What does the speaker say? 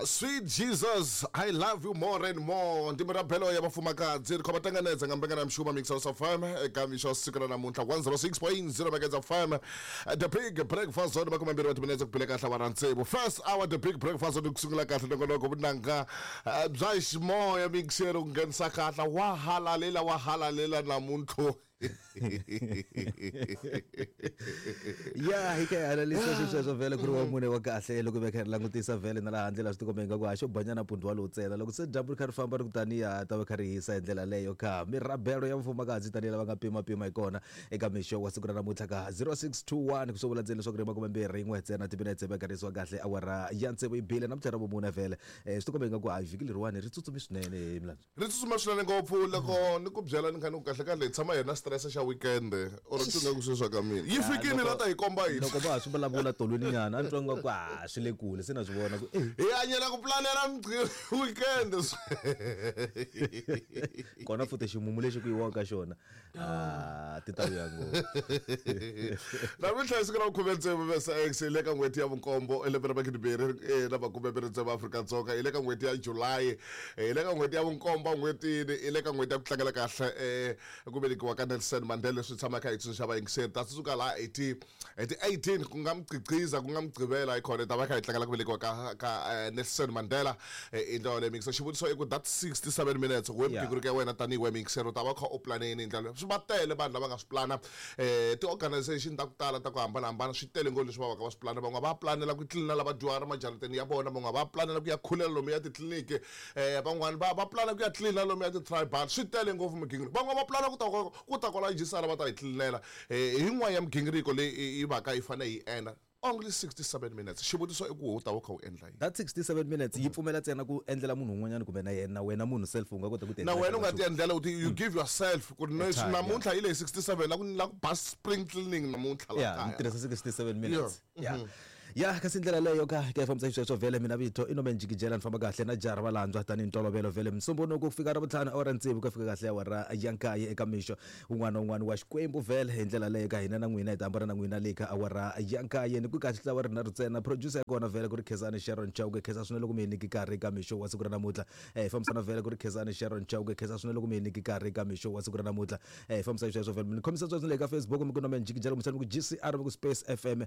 Sweet Jesus, I love you more and more. Ndi mirabelo ya vafumakadzi ri khou vha ṱanganedza nga mbekanyamushumo Mix House of FM eka mixo wa siku ra namuntlha 106.0 Megahertz FM. The Big Breakfast Zone makumembirhi wa timinetse ku bile kahle awara tsevu. First hour The Big Breakfast Zone ku sungula kahle nongonoko vunanga bya ximoya mixero ku nghenisa kahle wa halalela wa halalela namuntlha. Ya hi kha hi halalisa swi sweswo vhele ku ri wa mune wa kahle loko hi kha hi langutisa vhele na laha handle la swi tikomba ingaku a xo banyana pundwa lowu ntsena loko se dyambu ri kha ri famba ri ku taniya ta va kha ri hisa hi ndlela leyo kha mirabelo ya mfumakadzi tanihi lava nga pimapima hi kona eka mixo wa siku ra namuntlha ka 0621 ku swo vula ntsena leswaku ri makumembirhi n'we ntsena timinetse va karhisiwa kahle awara ya tsevu yi bile namuntlha ra vumune vhele swi tikomba ingaku hayi vhiki leriwani ri tsutsumi swinene hi milandzu. Ri tsutsuma swinene ngopfu loko ni ku byela ni kha ni ku kahle kahle hi tshama hi ri na stress xa weekend or twi nga ku sweswa ka mina yi fikini la ta hi komba yini loko va ha swi vulavula tolweni nyana a ni twa nga ku a swi le kule se na swi vona ku eh hi hanyela ku planela weekend kona futhi ximumu lexi ku yiwaka ka xona ah ti ta vuya ngopfu. Namuntlha hi siku ra vukhume tsevu vesa x hi le ka n'hweti ya vunkombo elembe ra magidimbirhi na makume mbirhi tsevu Afrika-Dzonga hi le ka n'hweti ya July hi le ka n'hweti ya vunkombo n'hwetini hi le ka n'hweti ya ku tlangela kahle ku velekiwa ka Nelson Mandela leswi tshamaka hi tsundzuxa vayingiseri ta tsundzuka laha hi ti hi ti 18 ku nga mugqigqiza ku nga mugqivela hi khona hi ta va kha hi tlangela ku velekiwa ka ka Nelson Mandela hi ndlela yoleyo mixer xivutiso i ku that 67 minutes we migingiriko ya wena tanihi we mixer u ta va kha u plane yini hi ndlela swi va tele vanhu lava nga swi plana ti-organization ta ku tala ta ku hambanahambana swi tele ngopfu leswi va va ka va swi plana van'wana va planela ku tlilina lava dyuhari majarateni ya vona van'wana va planela ku ya khulela lomu ya titliliniki van'wana va va plana ku ya tlilina lomu ya ti-tribal swi tele ngopfu migingiriko van'wana va plana ku ta ku ta kwala jisara va ta hi tlilinela hi yin'wana ya migingiriko leyi yi va ka yi fanele yi endla only 67 minutes xivutiso i ku u ta va u kha u endla yini that 67 minutes yi pfumela ntsena ku endlela munhu un'wanyana kumbe na yena wena munhu self u nga kota ku ti na wena u nga ti endlela u ti you give yourself ku ri namuntlha hi leyi 67 la ku la ku ba spring cleaning namuntlha la kaya ni tirhisa 67 minutes yeah Ya kasi ndlela leyo ka ka fambisa xisweswo vhele mina vito i Norman Jikijela ni famba kahle na jaha ra valandzwa tanihi ntolovelo vhele Musumbhunuku ku fika Ravutlhanu awara tsevu ku ya fika kahle awara ya nkaye eka mixo wun'wana na wun'wana wa Xikwembu vhele hi ndlela leyo ka hina na n'wina hi ta hambana na n'wina le ka awara ya nkaye ni ku kahle ntlawa rinharhu ntsena producer ya kona vhele ku ri Khensani Sharon Chauke khensa swinene loko mi hi nyiki nkarhi eka mixo wa siku ra namuntlha hi fambisana vhele ku ri Khensani Sharon Chauke khensa swinene loko mi hi nyiki nkarhi eka mixo wa siku ra namuntlha hi fambisa xisweswo vhele mi ni khomisa sweswo le ka Facebook mi ku Norman Jikijela kumbexana mi ku GCR mi ku Space FM.